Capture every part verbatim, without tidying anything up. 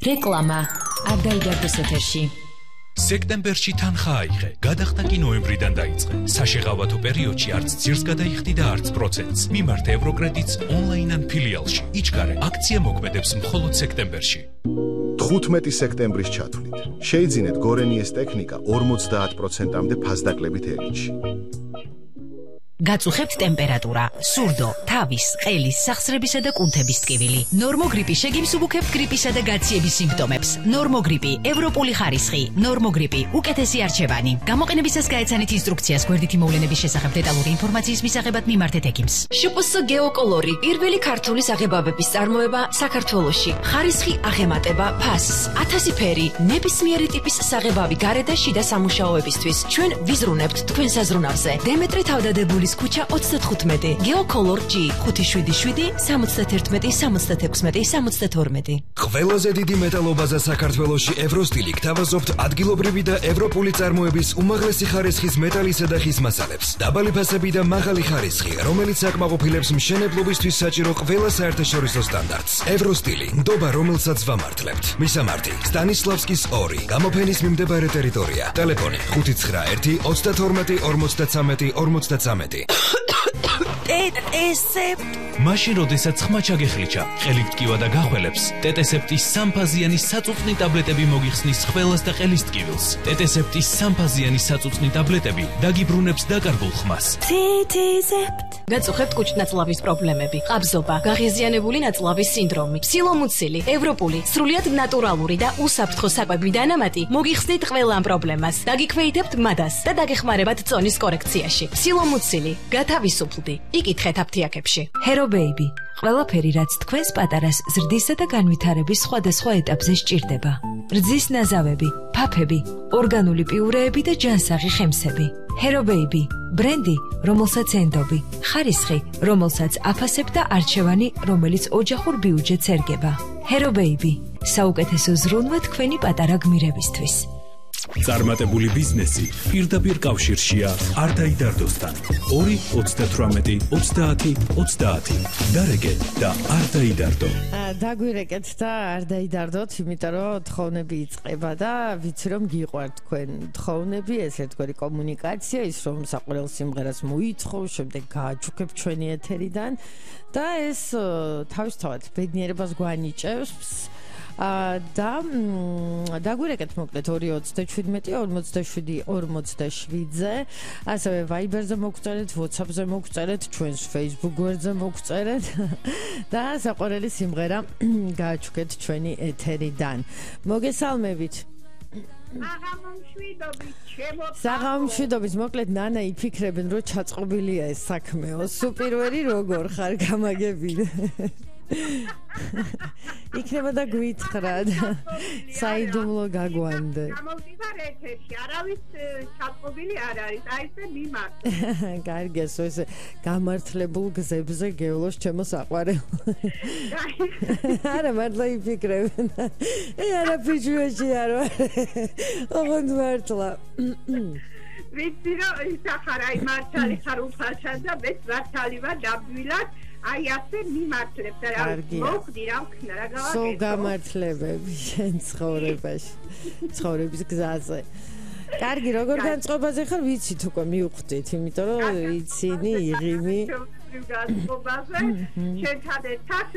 რეკლამა არ დაიდარდოს ეთერში. სექტემბერში თანხა აიღე, გადახდა კი ნოემბრიდან დაიწყე. საშეღავათო პერიოდში არც ძირს გადაიხდი და არც პროცენტს. მიმართე ევროკრედიტს ონლაინ ან ფილიალში. იჩქარე, აქცია მოქმედებს მხოლოდ სექტემბერში. თხუთმეტი სექტემბრის ჩათვლით. შეიძინეთ გორენიეს ტექნიკა ორმოცდაათ პროცენტამდე ფასდაკლებით ელინში. გაწუხებთ ტემპერატურა, სურდო, თავის, ყელის, სახსრებისა და კუნთების ტკივილი. ნორმოგრიპი შეგიმსუბუქებთ გრიპისა და გაციების სიმპტომებს. ნორმოგრიპი, ევროპული ხარისხი, ნორმოგრიპი, უკეთესი არჩევანი. გამოყენებისას გაეცანით ინსტრუქციას გვერდითი მოვლენების შესახებ დეტალური ინფორმაციის მისაღებად მიმართეთ ექიმს. შპს გეოკოლორი, პირველი ქართული საღებავების წარმოება საქართველოში. ხარისხი აღემატება ფასს, ათასი ფერი, ნებისმიერი ტიპის საღებავი გარე და შიდა სამუშაოებისთვის. ჩვენ ვიზრუნებთ თქვენ საზრუნავზე. დემეტრე თავდადებული ქუჩა ოცდათხუთმეტი, გეოკოლორ ჯი ხუთი შვიდი შვიდი სამოცდაათერთმეტი სამოცდათექვსმეტი სამოცდათორმეტი. ყველაზე დიდი მეტალობაზა საქართველოში ევროსტილი გთავაზობთ ადგილობრივი და ევროპული წარმოების უმაღლესი ხარისხის მეტალისა და ხის მასალებს. დაბალი ფასები და მაღალი ხარისხი, რომელიც აკმაყოფილებს მშენებლობისთვის საჭირო ყველა საერთაშორისო სტანდარტს. ევროსტილი, ნდობა რომელსაც ვამართლებთ. მისამართი: სტანისლავსკის ორი, გამოფენის მიმდებარე ტერიტორია. ტელეფონი ხუთი ცხრა ერთი ოცდათორმეტი ორმოცდაცამეტი ორმოცდაცამეტი. ტეტესეპტ მაშინ როდესაც ხმა ჩაგეხლიჩა, ყელით ტკივა და გახველებს, ტეტესეპტის სამფაზიანი საწუწნი ტაბლეტები მოგიხსნის ხველას და ყელის ტკივილს. ტეტესეპტის სამფაზიანი საწუწნი ტაბლეტები დაგიბრუნებს დაკარგულ ხმას. ტეტესეპტ გაწუხებთ კუჭ-ნაწლავის პრობლემები, ყაბზობა, გაღიზიანებული ნაწლავის სინდრომი, სილომუცილი, ევროპული, სრულიად ნატურალური და უსაფრთხო საკვები დანამატი მოგიხსნით ყველა ამ პრობლემას. დაგიქვეითებთ მადას და დაგეხმარებათ წონის კორექციაში. სილომუცილი, გათავისუფლდი. იკითხეთ აფთიაქებში. ჰერო ბეიბი, ყველაფერი რაც თქვენს პატარას ზრდისა და განვითარების სხვადასხვა ეტაპზე სჭირდება. რძის ნაზავები, ფაფები, ორგანული პიურეები და ჯანსაღი ხემსები. ჰერო ბეიბი, ბრენდი, რომელსაც ენდობი, ხარისხი, რომელსაც აფასებ და არჩევანი, რომელიც ოჯახურ ბიუჯეტს ერგება. ჰერო ბეიბი, საუკეთესო ზრუნვა თქვენი პატარა გმირებისთვის. წარმატებული ბიზნესი პირდაპირ კავშირშია არ დაიდარდოსთან. ორი ოცდათვრამეტი ოცდაათი ოცდაათი. დარეკე და არ დაიდარდო. დაგვირეკეთ და არ დაიდარდოთ, იმიტომ რომ თხოვნები იწყება და ვიცი რომ გიყვართ თქვენ თხოვნები, ეს ერთგვარი კომუნიკაცია, ის რომ საყურელ სიმღერას მოიწყო, შემდეგ გააჩუქებ ჩვენი ეთერიდან და ეს თავისთავად ბედნიერებას გვანიჭებს. და დაგვირეკეთ მოკლედ ორი ოცდაშვიდმეტი ორმოცდაშვიდი ორმოცდაშვიდზე, ასევე Viber-ზე მოგწერეთ, WhatsApp-ზე მოგწერეთ, ჩვენს Facebook გვერდზე მოგწერეთ და საყვარელი სიმღერა გააჩუქეთ ჩვენი ეთერიდან. მოგესალმებით. საღამომშვიდობით, მოკლედ ნანა იფიქრებენ რომ ჩაწყობილია ეს საქმეო. სუპირვერი როგორ ხარ, გამაგებინე. იქნება და გვითხრად საიდუმლო გაგვანდე. გამოვდივარ ეთერში, არავის ჩაწყობილი არ არის, აი ესე მიმართ. კარგი, ეს გამართლებულ გზებზე გევლოს ჩემო საყვარელ. არა, მართლა იფიქრებენ. ე არა ფიჭვეში არ ვარ. ოღონდ მართლა. ვიცი რომ ისახარ აი მართალი ხარ უფალჩან და მეც მართალი ვარ დაბვილად. აი ასე მიმართლებთ რა მოხდი რა ვქნა რა გავაკეთო. სულ გამართლებები შენ ცხოვრებაში, ცხოვრების გზაზე. კარგი, როგორ განწყობაზე ხარ, ვიცით უკვე მივხვდით, იმიტომ რომ იცინი იღიმი. განწყობაზე შენ თადეთად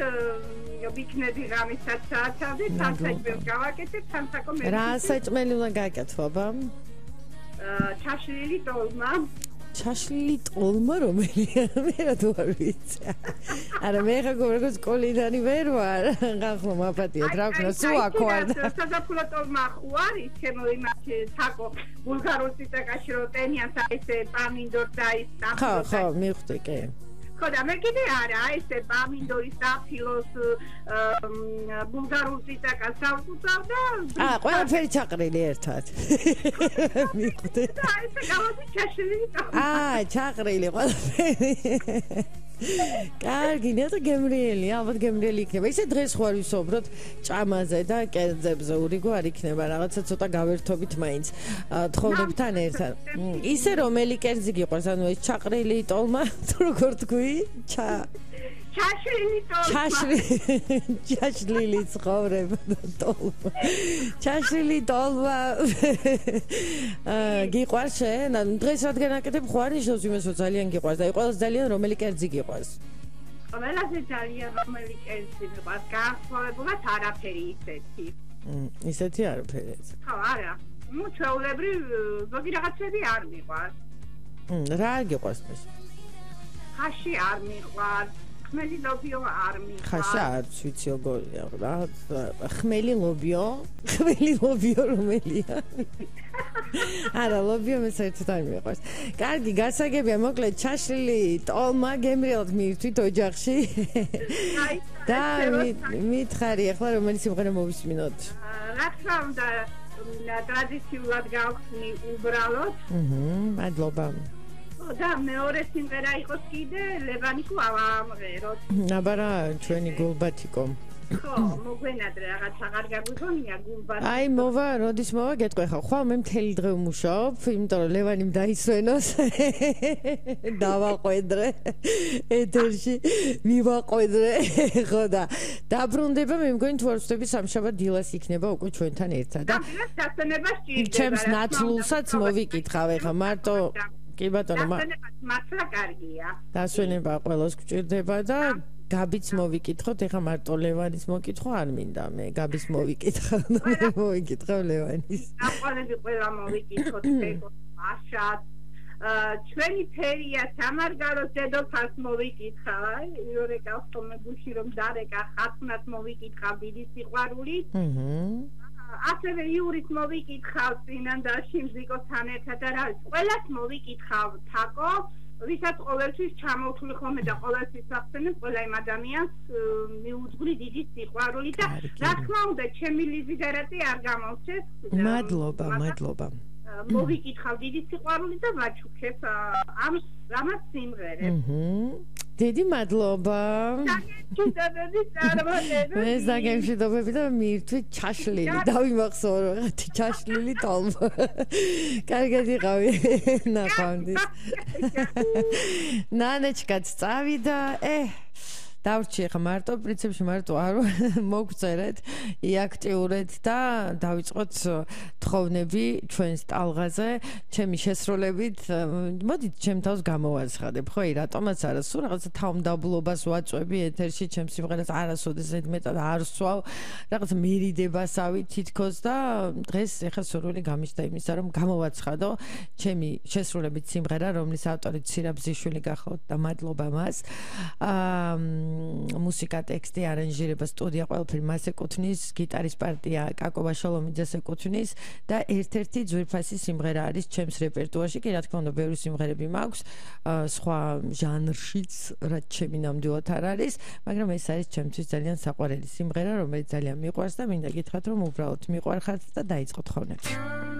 ვიქნები რამისაც საათამდე, თან საჭმელს გავაკეთებ, თან საკო მე. რა საჭმელი უნდა გააკეთო, აბა? ჩაშლილი ტოლმა. ჩაშლილი ტოლმა რომელია? მე რა თუ არ ვიცი. არა მე ხა გორგოს კოლიდანი ვერ ვარ. ხახო მაპატიეთ რა ვქნა, სულ აქ ვარ. საზაფხულო ტოლმა ხო არის, ჩემო იმათ საკო ბულგარულ ციტაკაში რო ტენიან საერთე პამინდორ და ის და. ხო, ხო, მივხვდი კი. ხო და მე კიდე არა, ესე პამინდორის და ფილოს ბულგარულ ციტაკას დავწუწავ და აა, ყველაფერი ჩაყრილი ერთად. მივხვდი. და ესე გავადი ჩაშლილი ტოლმა. აა, ჩაყრილი ყველაფერი. კარგი, ნეტო გემრიელი, ალბათ გემრიელი იქნება. ისე დღეს ხوار ვისაუბროთ ჭამაზე და კერძებზე, ურიგო არ იქნება, რაღაცა ცოტა გავერთობით მაინც თხოვნებთან ერთად. ისე რომელი კერძი გიყვარს, ანუ ეს ჩაყრილი ტოლმა, თუ როგორ თქვი? ჩა ჩაშლილი ტოლმა. ჩაშლილი ჩაშლილი ცხოვრება ტოლმა. ჩაშლილი ტოლმა. აა გიყვარს შენ? ანუ დღეს რადგან აკეთებ ხვანიშნოს იმას რომ ძალიან გიყვარს და ყველას ძალიან რომელი კერძი გიყვარს? ყველაზე ძალიან რომელი კერძი მიყვარს? განსხვავებულად არაფერი ისეთი. ისეთი არაფერი. ხო, არა. ну ჩვეულებრივ ზოგი რაღაცები არ მიყვარს. რა გიყვარს მე? ხაში არ მიყვარს. ხმელი ლობიო არ მიყვარს. ხაში არ ვიცი როგორია რა. ხმელი ლობიო? ხმელი ლობიო რომელია? არა, ლობიო მე საერთოდ არ მიყვარს. კარგი, გასაგებია, მოკლედ ჩაშლილი ტოლმა გემრიელად მივთვით ოჯახში. და მითხარი ახლა რომელი სიმღერა მოვისმინოთ? რა თქმა უნდა ტრადიციულად გავხსნი უბრალოდ. აჰა, მადლობა. და მეორე სიმღერა იყოს კიდე ლევანიკო ავამღეროთ. აბარა ჩვენი გულბათიკო. ხო, მოგვენადრე რაღაც აღარ გაგვიგონია გულბათიკო. აი მოვა, როდის მოვა გეტყვი ხა. ხო, მე მთელი დღე ვმუშაობ, იმიტომ რომ ლევანიმ დაისვენოს. დავაყვედრე ეთერში, მივაყვედრე. ხო და დაბრუნდება მე მგონი თუ არ ვწდები სამშაბათ დილას იქნება უკვე ჩვენთან ერთად. და დასვენება სჭირდება. ჩემს ნაცვლულსაც მოვიკითხავ ეხა მარტო კი ბატონო მართლა კარგია. დასვენება ყველას გვჭირდება და გაბიც მოვიკითხოთ, ეხა მარტო ლევანის მოკითხვა არ მინდა, მე გაბის მოვიკითხავ, მე მოვიკითხავ ლევანის. აყოლები ყველა მოვიკითხოთ, მაშად. ჩვენი ფერია სამარგალოს დედოფალს მოვიკითხავ, აი, იორეკავს თome გუში რომ დარეკა ხათუნას მოვიკითხავ დიდი სიყვარული. აჰა. ასევე იურით მოვიკითხავ წინანდაში მზიკოსთან ერთად და რა ვიცი, ყველას მოვიკითხავ თაკო, ვისაც ყოველთვის ჩამოვთვლი ხოლმე და ყოველთვის ახსენებ ყველა იმ ადამიანს მიუძღვრი დიდი სიყვარული და რა თქმა უნდა ჩემი ლიზიდერატი არ გამოვჩეს. მადლობა, მადლობა. მოვიკითხავ დიდი სიყვარული და ვაჩუქებ ამ რამაც სიმღერებს. დიდი მადლობა. მე ზაგემშვიდობები და მირთვით ჩაშლილი. დავიმახსოვრო ხათი ჩაშლილი ტოლმა. კარგად იყავი. ნახვამდის. ნანეჩკაც წავიდა. ე დავრჩი ხა მარტო პრინციპში მარტო არ მოგწერეთ იაქტიურეთ და დავიწყოთ თხოვნები ჩვენს ტალღაზე ჩემი შესრულებით მოდით ჩემ თავს გამოვაცხადებ ხო აი რატომაც არა სულ რაღაცა თავმდაბლობას ვაწვევი ეთერში ჩემს სიმღერას არასოდეს მეტად არ ვსვავ რაღაცა მერიდებასავი თითქოს და დღეს ეხა სურვილი გამიშდა იმისა რომ გამოვაცხადო ჩემი შესრულებით სიმღერა რომლის ავტორი ცირაბზიშვილი გახლავთ და მადლობა მას აა მუსიკა, ტექსტი, არანჟირება, სტუდია ყველაფერი მას ეკუთვნის, გიტარის პარტია კაკო ბაშალომიძეს ეკუთვნის და ერთ-ერთი ძვირფასი სიმღერა არის ჩემს რეპერტუარში. კი რა თქმა უნდა, ბევრი სიმღერები მაქვს, სხვა ჟანრშიც, რაც ჩემი ნამდვილად არ არის, მაგრამ ეს არის ჩემთვის ძალიან საყვარელი სიმღერა, რომელიც ძალიან მიყვარს და მინდა გითხრათ, რომ უბრალოდ მიყვარხართ და დაიწყოთ ხოვნები.